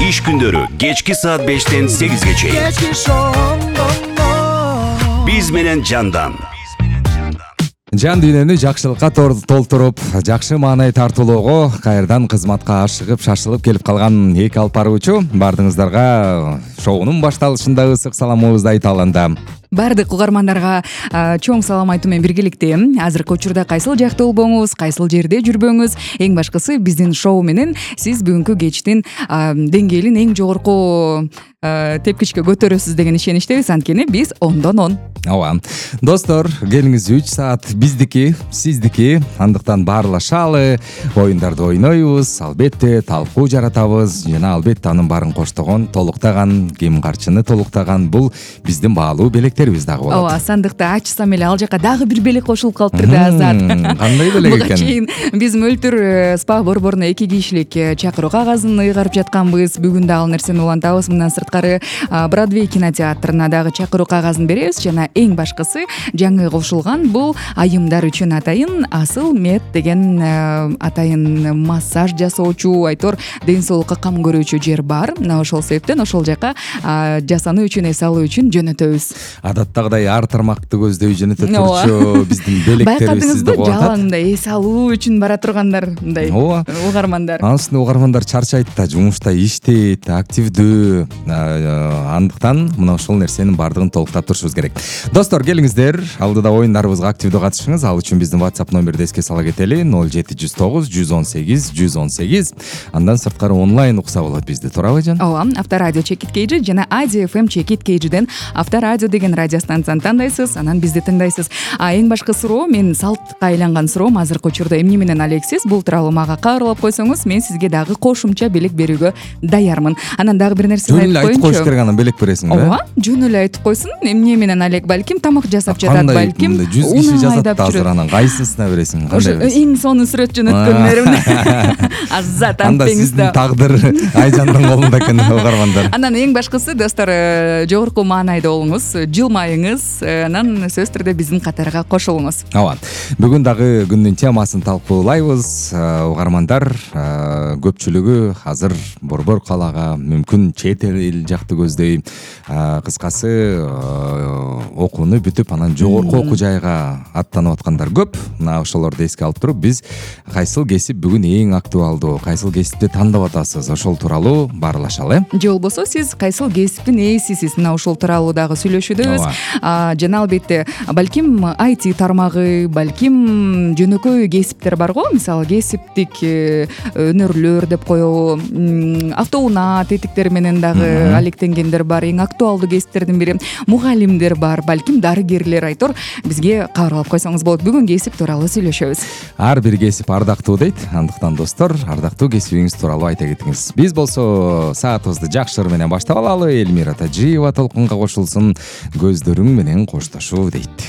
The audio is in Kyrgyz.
Иш күндөрү кечки саат 5-тен 8-ге чейин. Биз менен Жандан. Жан дүйнөнү жакшылыкка толтуруп, жакшы маанай тартуулоого кайрадан кызматка ашыгып, шашылып келип калган эки алып баруучу баардыгыңыздарга шоунун башталышында ысык саламыбызды айта алганда. Бардык угармандарга чоң салам айтуу менен биргеликте азыркы учурда кайсыл жакта болбоңуз, кайсыл жерде жүрбөңүз, эң башкысы биздин шоу менен сиз бүгүнкү кечтин деңгээлин эң жогорку тепкичке көтөрөсүз деген ишеничтебиз. Анткени биз 10дон 10. Ооба. Достор, келиңиз 3 саат биздики, сиздики. Андыктан баарлашалы, оюндарды ойнойбуз, албетте талкуу жаратабыз жана албетте анын баарын коштогон, толуктаган, кем карчыны толуктаган бул биздин баалуу белектерибиз дагы болот. Ооба, сандыкты ачсам эле ал жака дагы бир белек кошулуп калыптыр да азат. Кандай белек экен? Буга чейин биз мөлтүр спа борборуна 2 кишилик чакыруу кагазын ыйгарып жатканбыз. Бүгүн да ал нерсени улантабыз. Мындан сырткары Бродвей кинотеатрына дагы чакыруу кагазын беребиз жана эң башкысы жаңы кошулган бул айымдар үчүн атайын асыл мед деген атайын массаж жасоочу, айтор ден соолукка кам көрүүчү жер бар. Мына ошол себептен ошол жака жасануу үчүн, эс алуу үчүн жөнөтөбүз. Адаттагыдай ар тармакты көздөй жөнөтө турчу биздин белектерибиз сизди кубатат. Жалаң мындай эс алуу үчүн бара тургандар мындай угармандар. Анын угармандар чарчайт да, жумушта иштейт, активдүү. Андыктан мына ошол нерсенин баардыгын толуктап турушубуз керек. Достор, келиңиздер, алдыда оюндарыбызга активдүү катышыңыз. Ал үчүн биздин WhatsApp номерди эске сала кетели: 0709 118 118. Андан сырткары онлайн укса болот бизди, туурабы Жан? Ооба, Авторадио Чекит Кейжи жана Ади FM Чекит Кейжиден Авторадио деген радио станцияны тандайсыз, анан бизди тыңдайсыз. Эң башкы суроо, мен салтка айланган суроом азыркы учурда эмне менен алексиз? Бул тууралуу мага кабарлап койсоңуз, мен сизге дагы кошумча белек берүүгө даярмын. Анан дагы бир нерсе айтып коюш керек, анан белек бересиң да? Ооба, жөн эле айтып койсун. Эмне менен алек, балким тамак жасап жатат, балким 100 киши жазат азыр, анан кайсысына бересиң? Ошо эң сонун сүрөт жөнөткөнмөрүм. Азат анда сиздин тагдыр Айжандын колунда экен, угармандар. Анан эң башкысы, достор, жогорку маанайда болуңуз, жылмайыңыз, анан сөзсүз түрдө биздин катарга кошулуңуз. Ооба. Бүгүн дагы күндүн темасын талкуулайбыз. Угармандар көпчүлүгү азыр борбор калаага, мүмкүн чет эл жакты көздөй, кыскасы окууну бүтүп, анан жогорку окуу жайга аттанып аткандар көп. Мына ошолорду эске алып туруп, биз кайсыл кесип бүгүн эң актуалдуу, кайсыл кесипти тандап атасыз, ошол тууралуу баарлашалы. Же болбосо сиз кайсыл кесиптин ээсисиз, мына ошол тууралуу дагы сүйлөшүүдөбүз. Жана албетте, балким IT тармагы, балким жөнөкөй кесиптер барго, мисалы кесиптик өнөрлөр деп коебу, автоунаа тетиктери менен дагы алектенгендер бар. Эң актуалдуу кесиптердин бири мугалимдер бар, балким дарыгерлер, айтор бизге кабарлап койсоңуз болот. Бүгүн кесип тууралуу сүйлөшөбүз. Ар бир кесип ардактуу дейт. Андыктан достор, ардактуу кесибиңиз тууралуу айта кетиңиз. Биз болсо саатыбызды жакшы ыр менен баштап алалы. Элмира Тажиева толкунга кошулсун, көздөрүң менен коштошуу дейт.